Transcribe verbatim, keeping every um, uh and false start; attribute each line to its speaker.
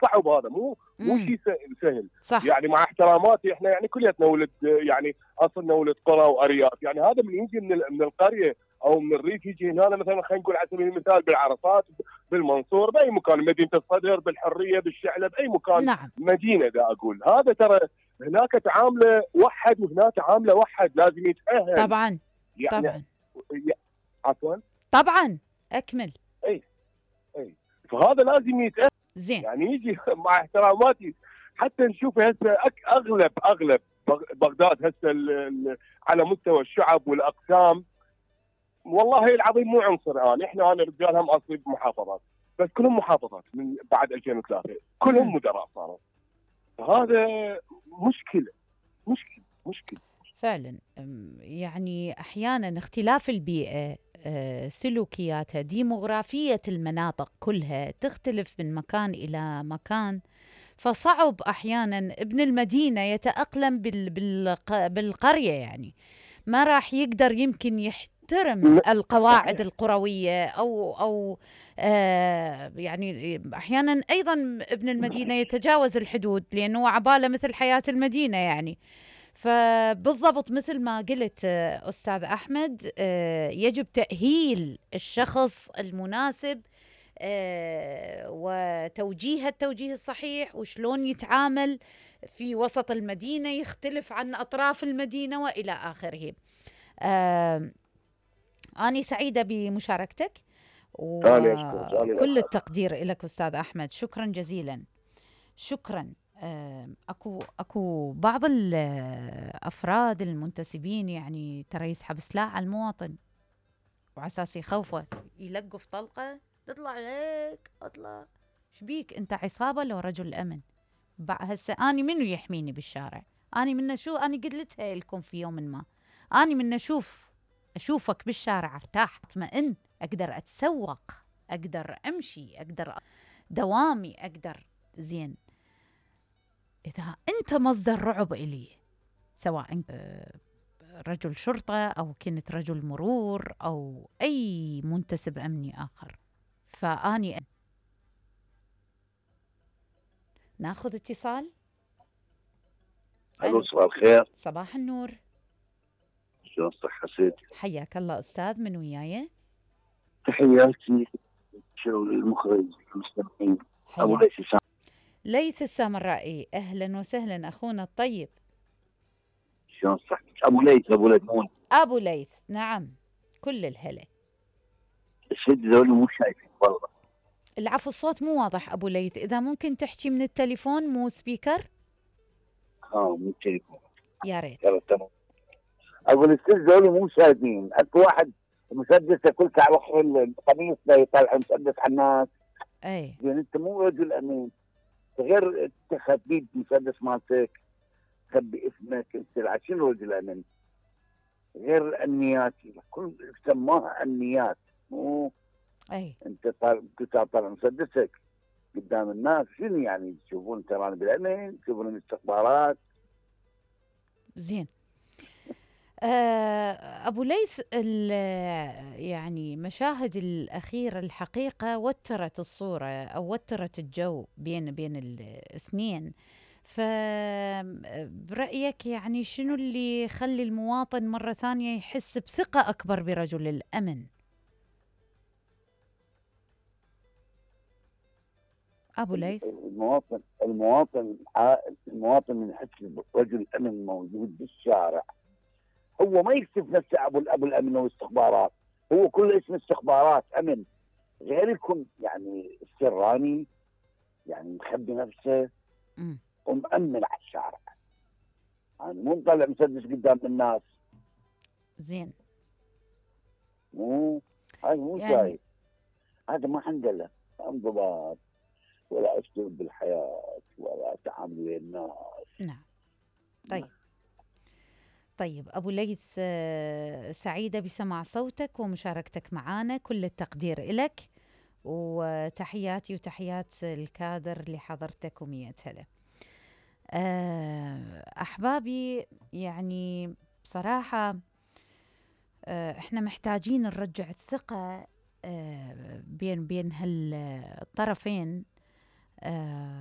Speaker 1: صعب هذا، مو مو
Speaker 2: امم
Speaker 1: شيء سهل.
Speaker 2: صح.
Speaker 1: يعني مع احتراماتي احنا يعني كلياتنا ولد، يعني اصلنا ولد قرى وارياف، يعني هذا من يجي من من القريه او من الريف يجي هنا مثلا، خلينا نقول على سبيل المثال بالعرفات، بالمنصور، باي مكان، مدينه الصدر، بالحريه، بالشعله، باي مكان
Speaker 2: نعم.
Speaker 1: مدينه. دا اقول هذا ترى هناك تعامله وحد وهنا تعامله وحد، لازم يتاهل
Speaker 2: طبعا
Speaker 1: يعني.
Speaker 2: طبعا
Speaker 1: عفوا.
Speaker 2: طبعا اكمل.
Speaker 1: اي اي فهذا لازم يتاهل،
Speaker 2: زين.
Speaker 1: يعني يجي مع احتراماتي. حتى نشوف هسه اغلب اغلب بغداد هسه على مستوى الشعب والاقسام، والله العظيم مو عنصر. انا احنا انا رجال هم اصلي بمحافظات، بس كلهم محافظات من بعد ألفين وثلاثة، كلهم
Speaker 2: امم
Speaker 1: مدراء صاروا. فهذا مشكله مشكله مشكله.
Speaker 2: فعلا. أم، يعني احيانا اختلاف البيئه، أه، سلوكياتها، ديموغرافيه المناطق كلها تختلف من مكان الى مكان، فصعب احيانا ابن المدينه يتاقلم بال بالق- بالقريه، يعني ما راح يقدر يمكن يحترم القواعد
Speaker 1: صحيح.
Speaker 2: القرويه او او آه يعني احيانا ايضا ابن المدينه يتجاوز الحدود لانه عباله مثل حياه المدينه يعني. فبالضبط مثل ما قلت آه، أستاذ أحمد، آه، يجب تأهيل الشخص المناسب، آه، وتوجيه التوجيه الصحيح، وشلون يتعامل في وسط المدينة يختلف عن أطراف المدينة وإلى آخره. آه، أنا سعيدة بمشاركتك
Speaker 1: ثاني اشكرك، ثاني
Speaker 2: وكل
Speaker 1: الاسعد.
Speaker 2: التقدير لك أستاذ أحمد، شكرا جزيلا. شكرا. آه، اكو اكو بعض الافراد المنتسبين يعني ترى يسحب سلاح على المواطن وعلى اساس يخوفه، يلقف طلقه تطلع هيك اطلع. شبيك انت، عصابه لو رجل امن؟ بع- هسه اني منو يحميني بالشارع؟ اني من شو، اني قلتها لكم في يوم ما، اني من اشوف اشوفك بالشارع ارتاح، اطمئن، اقدر اتسوق، اقدر امشي، اقدر دوامي، اقدر. زين، إذا أنت مصدر رعب إلي، سواء أنت آه، رجل شرطة أو كنت رجل مرور أو أي منتسب أمني آخر، فأني ناخذ اتصال.
Speaker 3: الو،
Speaker 2: ألو،
Speaker 3: صباح الخير.
Speaker 2: صباح النور.
Speaker 3: شلون صحة سيدي؟
Speaker 2: حياك الله أستاذ، من وياي؟
Speaker 3: تحياتي شو المخرج المستمعين. ابو
Speaker 2: حياك.
Speaker 3: ليث سام.
Speaker 2: ليث السامرائي، أهلا وسهلا أخونا الطيب.
Speaker 3: شلون صحتك؟ ابو ليث ابو ليث مو
Speaker 2: أبو ليث، نعم، كل الهلا.
Speaker 3: السيد ذولي مو شايفين والله.
Speaker 2: العفو، الصوت مو واضح أبو ليث، إذا ممكن تحكي من التليفون مو سبيكر.
Speaker 3: ها مو التليفون.
Speaker 2: يا ريت.
Speaker 3: يلا تمام. اقول السيد ذولي مو شايفين، اكو واحد مسدسه كل على اخر القميص لا يطلع مسدس على الناس.
Speaker 2: أي.
Speaker 3: يعني انت مو رجل امين، غير تخبي المسدس مالتك، تخبي اسمك، انت شنو رجل امين؟ غير النيات، كل سماها النيات. مو
Speaker 2: أي.
Speaker 3: انت طالع كنت طالع مسدسك قدام الناس، شنو يعني تشوفون تراني بالامن، تشوفون الاستخبارات.
Speaker 2: زين. آه، أبو ليث، يعني مشاهد الأخيرة الحقيقة وترت الصورة أو وترت الجو بين بين الاثنين، فبرأيك يعني شنو اللي يخلي المواطن مرة ثانية يحس بثقة أكبر برجل الأمن؟ أبو ليث.
Speaker 3: المواطن المواطن المواطن من يحس رجل الامن موجود بالشارع، هو ما يكتب نفسه ابو ابو الامن والاستخبارات، هو كله اسم استخبارات امن، غير يكون يعني السراني، يعني مخبي نفسه
Speaker 2: مم.
Speaker 3: ومأمن على الشارع، يعني مو مطلع مسدس قدام الناس.
Speaker 2: زين.
Speaker 3: مو هذا مو
Speaker 2: يعني
Speaker 3: شايف، هذا ما عنده له انضباط ولا اسلوب بالحياه ولا تعامل ويا الناس.
Speaker 2: نعم. طيب. طيب أبو ليث، آه، سعيدة بسماع صوتك ومشاركتك معنا، كل التقدير لك، وتحياتي وتحيات الكادر اللي حضرتك ومية هلا. آه، أحبابي، يعني بصراحة آه، احنا محتاجين نرجع الثقة آه، بين بين هالطرفين. آه،